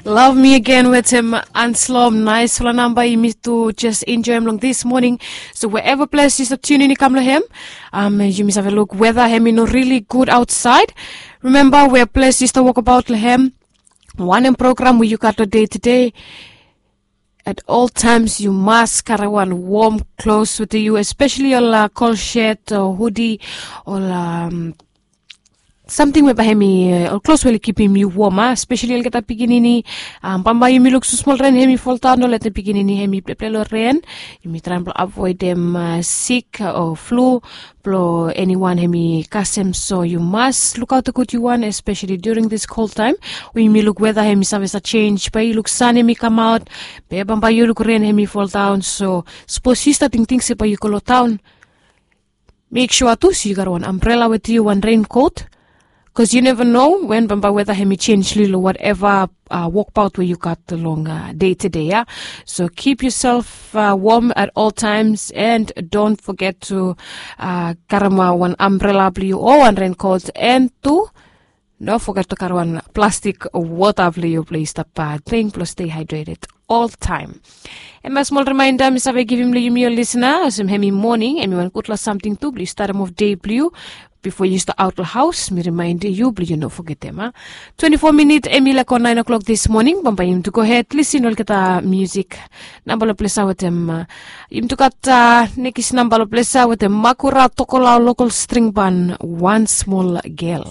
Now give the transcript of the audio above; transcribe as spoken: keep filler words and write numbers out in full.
Love me again wetem Anslom, naisfala namba yumi tu jes enjoem long this morning. So wherever ples yu stap tunin i kam long hem, um, yumi save luk weda hem i no really good outside. Remember where ples yu stap wokabaut long hem, wanem program we yu gat long day to day. At all times yu mas kare wan warm clothes with you, especially ol uh, kol shet o hudi ol um, samting we bae hem i uh, ol klos we oli kipim yu wom a, especially olgeta pikinini. Um, bambae yumi luk so smol ren hem i foldaon, no letem pikinini hem i pleple long ren. Yumi traem blong avoedem uh, sik o flu blong eniwan hem i kasem. So yu mas lukaot gud yu wan, especially during this cold time we yumi luk weda hem i save sa change, bae yu luk san hem i kamaot, be bambae yu luk ren hem i foldaon. So sapos yu stap tingting se bae yu go long taon, mek sua tu se yu gat wan ambrela wetem yu, wan renkot, bikos yu neva no wen bambae weda hem i change lilo whatever uh, wokbaot we yu gat long uh, day to day ya. So keep yourself uh, warm at all times and don't forget to uh, karem uh, wan ambrela blong yu o wan renkot, and tu no foget to karem wan plastik wota blong yu blong yu stap uh, drink blong stay hydrated all time. Em a smol remainda mi save givim long yumi ol lisna olsem hem i moning, em i wan gudfala samting tu blong yu starem of dei blong yu. Bifo yu stap aot long haos, mi remaindim yu blong yu no fogetem a, twenti fo minit em i laik o naen o'klok this morning. Bambae yumi tu gohed lisin olgeta musik. Namba long plesa wetem uh, yumi tu gat uh, nekis namba long plesa wetem Makura Tokolao Lokol String Ban, Wan Smol Gel.